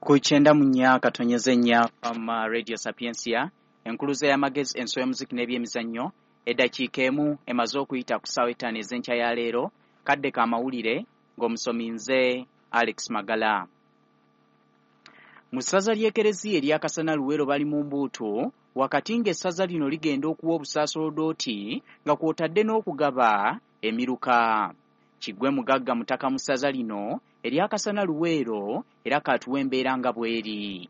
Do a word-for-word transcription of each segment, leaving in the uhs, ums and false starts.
Ku kyenda mu nnya katonyeze nnya Fama Radio Sapientia, enkuluze y'amagezi, enso y'omuziki n'ebyemizannyo. Eddakiika emu emaze okuyita ku ssaawa ettaano ez'enkya ya leero, kadde ka mawulire ng'omusomi nze Alex Magala. Mu ssaza ly'Ekereziya erya Kasana Luweero bali mu mbuutu wakati ng'essaza lino ligenda okuwa obusaasodooti nga kw'otadde n'okugaba emiruka. Kiggwe Mugagga mutaka mu ssaza lino erya Kasana Luweero era kaatuwa embeera nga bw'eri.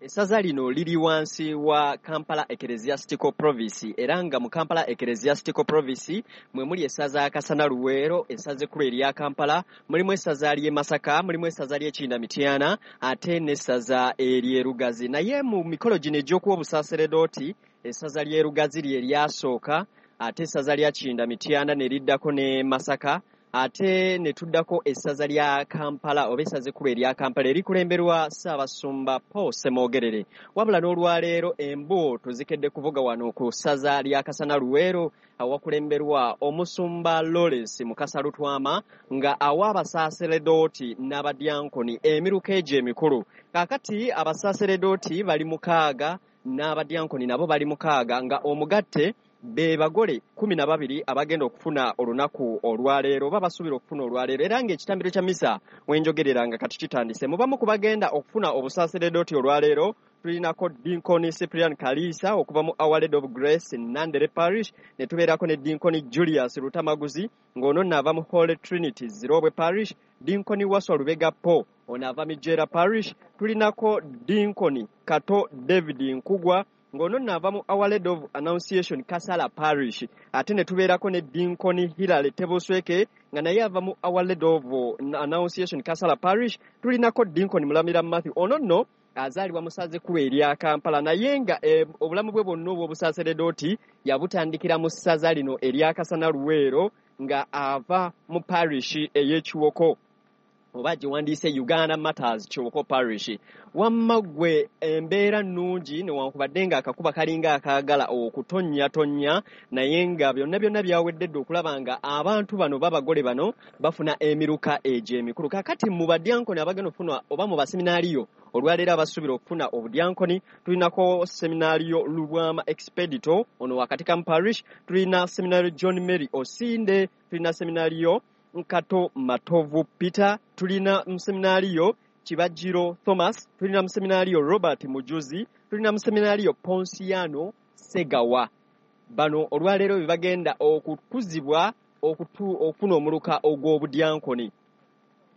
Essaza lino liri wansi wa Kampala Ecclesiastical Province, era nga mu Kampala Ecclesiastical Province mwe muli essaza Kasana Luweero, essaza ekkulu erya Kampala, mulimu essaza ly'e Masaka, mulimu essaza ly'e Kinda Mityana, ate n'essaza ery'e Lugazi. Naye mu mikolo gino egy'okuwa obusaaseredooti, essaza ly'e Lugazi lye lyasooka, ate essaza lya Kinda Mityana ne liddako ne Masaka, ate ne tuddako essaza lya Kampala oba essaza ekkulu erya Kampala erikulemberwa Ssaabasumba Paul Ssemwogerere. Wabula n'olwaleero embuutu zikedde kuvuga wano ku ssaza lya Kasana Luweero awakulemberwa omusumba Lawrence Mukasa Lutwama nga awa abasaaseredooti n'abadyankoni emiruka egyo emikulu. Kaakati abasaaseredooti bali mukaaga n'abadyankoni nabo bali mukaaga, nga omugatte be bagole kumi na babiri abagenda okufuna olunaku olwaleero oba basuubira okufuna olwaleero. Era ng'ekitambiro kya misa wenjogerera nga kati kitandise. Mu bamu ku bagenda okufuna obusaaseredooti olwaleero tulinako Dinkoni Cyprian Kalisa okuva mu Our Lady of Grace Nandere Parish, ne tubeerako ne Dinkoni Julius Lutamaguzi ng'ono nno ava mu Holy Trinity Zirobwe Parish, Dinkoni Waswa Lubega Paul ono ava Mijeera Parish, tulinako Dinkoni Kato David Nkugwa ng'ono nno ava mu Our Lady of Annunciation Kasala Parish, ate ne tubeerako ne Dinkoni Hilary Tebusweke nga naye ava mu Our Lady of Annunciation Kasala Parish, tulinako Dinkoni Mulamira Matthew ono nno azaalibwa mu ssaza ekkulu erya Kampala, naye nga eh, obulamu bwe bwonna obw'obusaaseredooti yabutandikira mu ssaza lino erya Kasana Luweero nga ava mu parish ey'Ekiwoko oba giwandiise Uganda Matters Kiwoko Parish. Wamma ggwe embeera nnungi newankubadde ng'akakuba kalinga akaagala okutonnyatonya, naye nga byonna byonna byawedde dda okulaba nga abantu bano babagole bano bafuna emiruka egyo emikulu. Kaakati mu badyankoni abagenda okufuna oba mu baseminaaliyo olwaleero abasuubira okufuna obudyankoni tulinako seminaaliyo Lubwama Expedito ono wa Katikamu Parish, tulina seminaaliyo John Mary Osinde, tulina seminaaliyo Nkato Matovu Peter, tulina museminaaliyo Kibajiro Thomas, tulina museminaaliyo Robert Mujuzi, tulina museminaaliyo Ponsiano Segawa. Bano olwaleero be bagenda okukuzibwa okufuna omuluka ogw'obudyankoni,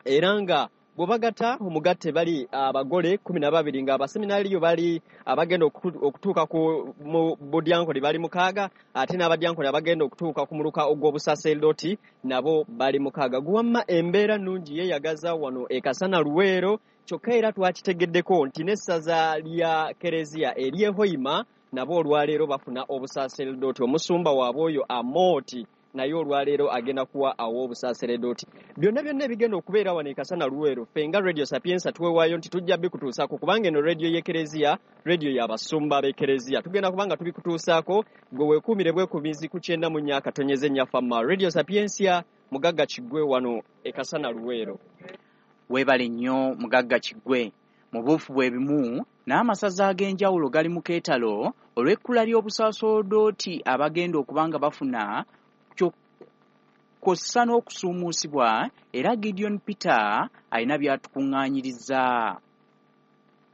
era nga bwe bagatta omugatte bali abagole kumi na babiri, nga abaseminaaliyo bali abagenda okutuuka ku mu budyankoni bali mukaaga, ate n'abadyankoni abagenda okutuuka ku muluka ogw'obusaseerdoti nabo bali mukaaga. Guwamma embeera nnungi yeeyagaza wano e Kasana Luweero, kyokka era twakitegeddeko nti n'essaza lya Kereziya ery'e Hoima nabo olwaleero bafuna obusaseerdoti. Omusumba waabwe oyo Amooti naye olwaleero agenda kuwa awo obusaaseredooti. Byonna byonna ebigenda okubeera wano e Kasana Luweero, ffe nga Radio Sapientia tuwewaayo nti tujja bikutuusaako, kubanga eno radio y'Ekereziya, radio y'abasumba b'Ekereziya. Tugenda kubanga tubikutuusaako, gwe weekuumire bwekuumizi ku kyenda mu nnya akatonyeze nnya Fama Radio Sapientia. Mugagga Kiggwe wano e Kasana Luweero. Weebale nnyo Mugagga Kiggwe. Mu buufu bwe bimu n'amasaza ag'enjawulo gali mu keetalo olw'ekkula ly'obusaasodooti abagenda okuba nga bafuna kw'ossa n'okusuumuusibwa, era Gideon Peter alina by'atukuŋŋaanyirizza.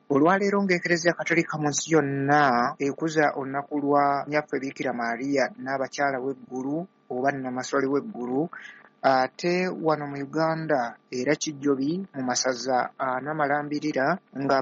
Olwaleero ng'Ekereziya Katolika mu nsi yonna ekuza olunaku lwa Nnyaffe Biikira Maria n'abakyala w'eggulu oba Nnamasole w'eggulu, ate wano mu Uganda era kijjobi mu masaza ana malambirira nga